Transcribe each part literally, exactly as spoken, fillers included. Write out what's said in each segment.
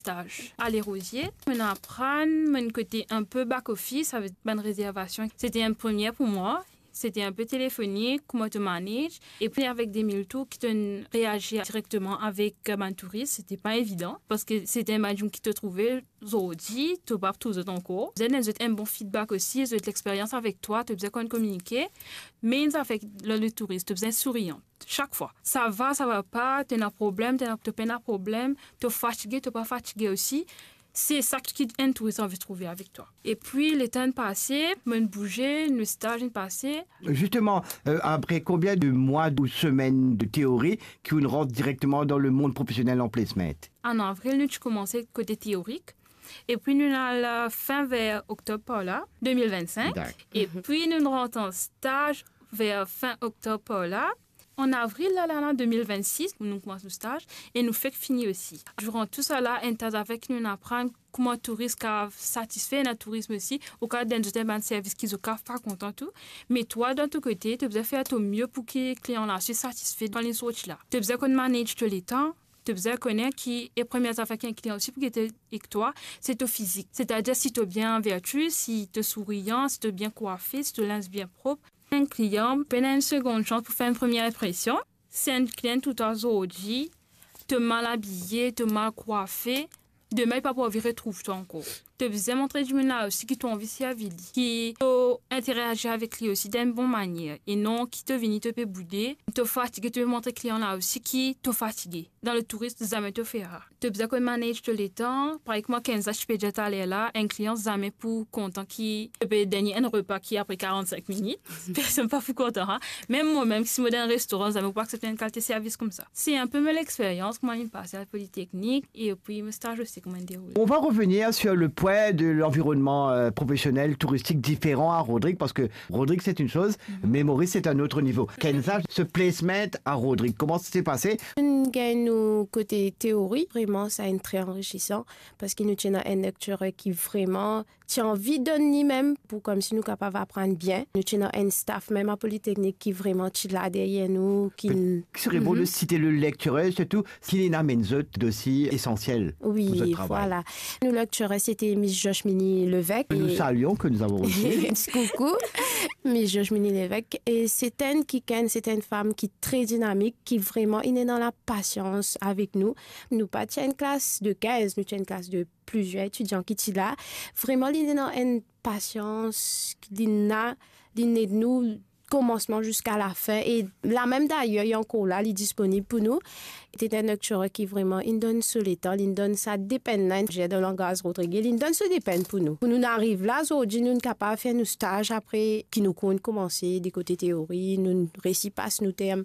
staz a Lerosier. Mo'nn aprann, mo'nn kote inpe back office avek bann rezervasion. Sete enn premie pou mwa. Sete inpe telefonik, kouma to manage. Epi avek de mil tour ki to'nn reazir direkteman avek, eh, bann touris, sete pa evidan, parski sete bann dimoun ki to trouve zordi, to pa trouv zot ankor. Zot donn zot enn bon feedback osi, zot lexperyans avek twa, to bizin konn kominike. Me enn zafer lor le touris, to bizin sourian. Sak fwa. Sa va, sa va pa, to ena problem, to ena, to pena problem, to fatige, to pa fatige osi. Se sa ki enn touris anvi trouve avek twa. Epi, letan inn pase, mo'nn bouze, nou staz inn pase. Justement, euh, après combien de mois ou semaines de théorie ki ou'nn rant directement dans le monde professionnel en placement? An avril, nou ti koumanse kote teorik. Epi, nou'nn al, euh, fin ver oktob par la, de mil vennsenk. Dakor. Epi, nou'nn rant an staz ver fin oktob par la. An avril la, la, la, de mil vennsis, nou koumans nou staz e nou fek fini osi. Duran tou sa la, enn ta zafer ki nou'nn aprann kouma touris kav satisfe, ena touris osi, ou kav donn zot bann servis ki zot kav pa kontan tou. Me twa, dan to kote, to bizin fer to mie pou ki klian la osi satisfe dan li sorti la. To bizin konn manage to letan, to bizin kone ki, e premie zafer ki enn klian osi pou gete ek twa, se to fizik. Setadir si to bien vertu, si to sourian, si to bien kwafe, si to linz bien prop. Enn klian pena enn segonn sans pou fer enn premie inpresion. Si enn klian trouv twa zordi, to mal abiye, to mal kwafe, demin li pa pou anvi retrouv twa ankor. To bizin montre dimoun la osi ki to anvi servi li, ki to interazir avek li osi dan enn bon manier, e non ki to vini, to pe boude, to fatige, to pe montre klian la osi ki to fatige. Dan le tourism, zame to fer sa. To bizin konn manage to letan. Parey kouma Kenza ti pe dir taler la, enn klian zame pou kontan ki to pe donn li enn repa ki apre karant-sink minit. Personn pa pou kontan, ha. Mem mwa mem, si mo dan enn restoran, zame mo pou aksepte enn kalite servis koumsa. Se inpe mo lexperyans, kouma mo'nn pase al Politeknik, epi mo staz osi, kouma mo'nn deroule. On va revenir sur le poids de l'environnement, euh, professionnel, touristique différent à Rodrig, parce que Rodrig, c'est une chose, mais Maurice, c'est un autre niveau. Kenza, ce placement à Rodrig, comment ça s'est passé? Nou gagn nou kote teori, vreman, sa inn tre anrisisan, parski nou ti ena enn lecturer ki vreman ti anvi donn limem pou koumsi nou kapav aprann bien. Nou ti ena enn staff mem a Politeknik ki vreman ti la deryer nou, ki Serait bon de citer le lecturer, surtout, ki inn amenn zot dosi esansiel pou zot travay. Wi, vwala. Nou lecturer, sete Miss Joshmini Levesque. Que nous saluons, que nous avons reçu. Ti koukou, Miss Joshmini Levesque. E se enn kikenn, se enn fam ki tre dinamik, ki vreman inn ena lapasians avek nou. Nou pa ti enn klas de kinz, nou ti enn klas de plizier etidian ki ti la. Vreman, li ena enn pasians, li ena, li ed nou komansman ziska lafin. E la mem dayer, li ankor la, li disponib pou nou. Li enn lecturer ki vreman inn donn so letan, li inn donn sa depenn la, dan langaz Rodrig, li inn donn so depenn pou nou. Pou nou ariv la zordi, nou kapav fer nou staz apre ki nou konn koumanse de kote teori, nou resi pas nou term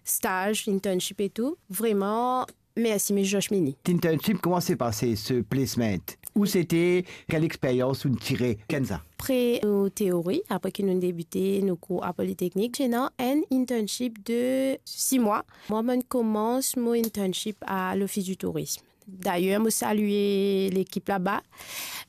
staz, internship e tou. Vreman, Mersi, Miss Joshmini. Internship, comment s'est passé ce placement? Où c'était? Quelle expérience ou'nn tire, Kenza? Apre nou teori, apre ki nou debite nou kour a Politeknik, ti ena enn internship de sis mwa. Mwa, mo'nn koumans mo internship a Lofis di Tourism. Dayer, mo salie lekip laba.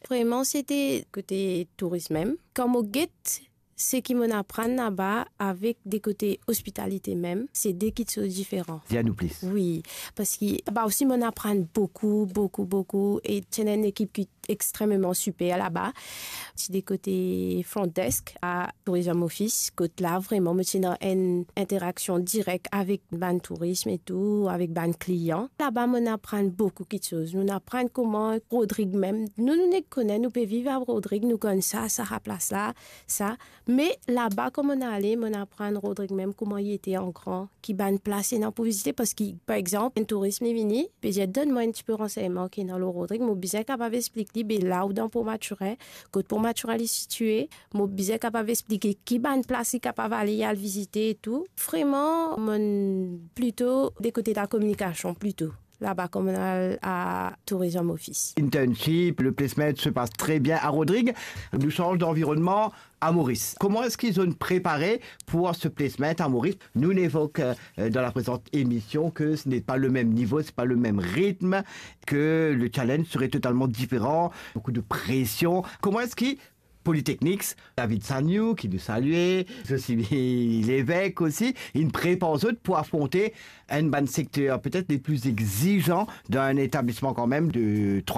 Vreman, sete kote tourism mem. Kan mo get seki mo'nn aprann laba avek de kote ospitalite mem, se de kiksoz diferan. Dir nou plis. Wi, parski laba osi mo'nn aprann boukou, boukou, boukou, e ti ena enn lekip ki extrememan siper laba. Ti de kote front desk a Tourism Office, kot la vreman mo ti ena enn interaksion direk avek bann touris e tou, avek bann klian. Laba mo'nn aprann boukou kiksoz. Mo'nn aprann kouma Rodrig mem. Nou, nou nek kone, nou pe viv a Rodrig, nou konn sa, sa, sa plas la, sa. Me laba, kan mo'nn ale, mo'nn aprann Rodrig mem kouma li ete an gran, ki bann plas ena pou vizite, parski, par exanp, enn touris li vini, pe dir, "Donn mwa enn tipe ransegnman ki ena lor Rodrig, mo bizin kapav explik li, be la ou dan Port Mathurin, kot Port Mathurin li sitie, mo bizin kapav explike ki bann plas li kapav ale, al vizite e tou." Vreman, mo'nn plito de kote lakominikasion, plito. Laba, kan mo'nn al a Tourism Office. Internship, le placement se passe très bien à Rodrig. Nou sanz d'environnement à Maurice. Comment est-ce qu'ils ont préparé pour ce placement à Maurice? Nous l'évoquons, euh, dans la précédente émission que ce n'est pas le même niveau, c'est pas le même rythme, que le challenge serait totalement différent, beaucoup de pression. Comment est-ce que Polytechnics, David Sagnou, ki nou salie, Josimie Levesque osi, inn prepar zot pou afronte enn bann sekter petet le pli exizan dan enn etablisman kanmem de